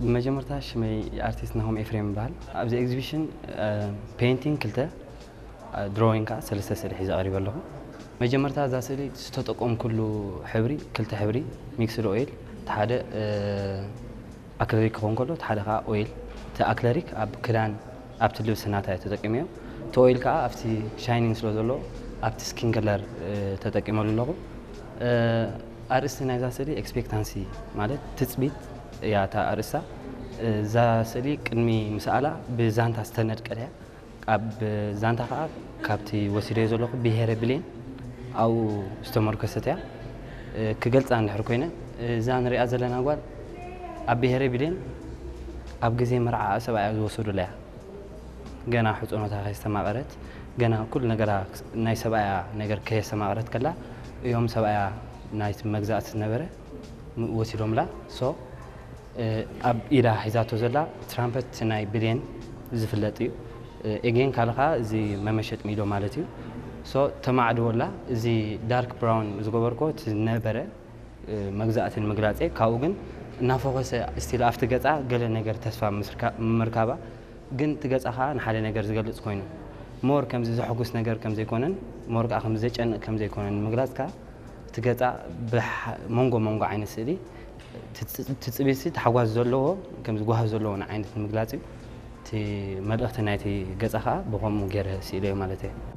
ብመጀመርታ ሽመይ ኣርቲስት ናሆም ኤፍሬም ይበሃል። ኣብዚ ኤግዚቢሽን ፔይንቲንግ ክልተ፣ ድሮዊንግ ከዓ ሰለስተ ስእሊ ሒዘ ቀሪበ ኣለኹ። መጀመርታ እዛ ስእሊ ዝተጠቀምኩሉ ሕብሪ ክልተ ሕብሪ፣ ሚክስድ ኦይል፣ እቲ ሓደ ኣክለሪክ ክኸውን ከሎ እቲ ሓደ ከዓ ኦይል። እቲ ኣክለሪክ ኣብ ክዳን ኣብቲ ልብሲ ናታ እየ ተጠቂመዮ። እቲ ኦይል ከዓ ኣብቲ ሻይኒንግ ስለ ዘሎ ኣብቲ ስኪን ከለር ተጠቂመሉ ኣለኹ። ኣርእስቲ ናይዛ ስእሊ ኤክስፔክታንሲ ማለት ትፅቢት እያ እታ ኣርእስታ። እዛ ስእሊ ቅድሚ ምስኣላ ብዛንታ ዝተነድቀት እያ። ኣብ ዛንታ ከዓ ካብቲ ወሲደዮ ዘለኹ ብሄረ ብሌን ኣብኡ ዝተመርኮሰት እያ። ክገልፃ እንድሕር ኮይነ እዛ ንሪኣ ዘለና ጓል ኣብ ብሄረ ብሌን ኣብ ግዜ መርዓ ሰብኣያ ዝወሰዱላ እያ። ገና ሕፁኖታ ከየስተማቐረት ገና ኩሉ ነገራ ናይ ሰብኣያ ነገር ከየስተማቐረት ከላ እዮም ሰብኣያ ናይቲ መግዛእቲ ዝነበረ ወሲዶምላ። ሶ ኣብ ኢዳ ሒዛቶ ዘላ ትራምፐት ናይ ብሌን ዝፍለጥ እዩ። ኤጌን ካልኻ እዚ መመሸጥ ሚዶ ማለት እዩ። ሶ ተማዕድወላ። እዚ ዳርክ ብራውን ዝገበርኮ እቲ ነበረ መግዛእትን ምግላፀ ካብኡ ግን እናፎከሰ ስቲል ኣብቲ ገፃ ገለ ነገር ተስፋ ምርካባ ግን እቲ ገፃ ከዓ ንሓደ ነገር ዝገልፅ ኮይኑ ሞር ከምዚ ዘሐጉስ ነገር ከምዘይኮነን ሞር ከዓ ከምዚ ዘጨንቅ ከምዘይኮነን ምግላፅ ከዓ እቲ ገፃ መንጎ መንጎ ዓይነት ስእሊ ትፅቢት ተሓጓስ ዘለዎ ከምዚ ጓህ ዘለዎ ዓይነት ምግላፅ እዩ። እቲ መልእኽቲ ናይቲ ገፃ ከዓ ብከምኡ ገይረ ስኢለዮ ማለት እየ።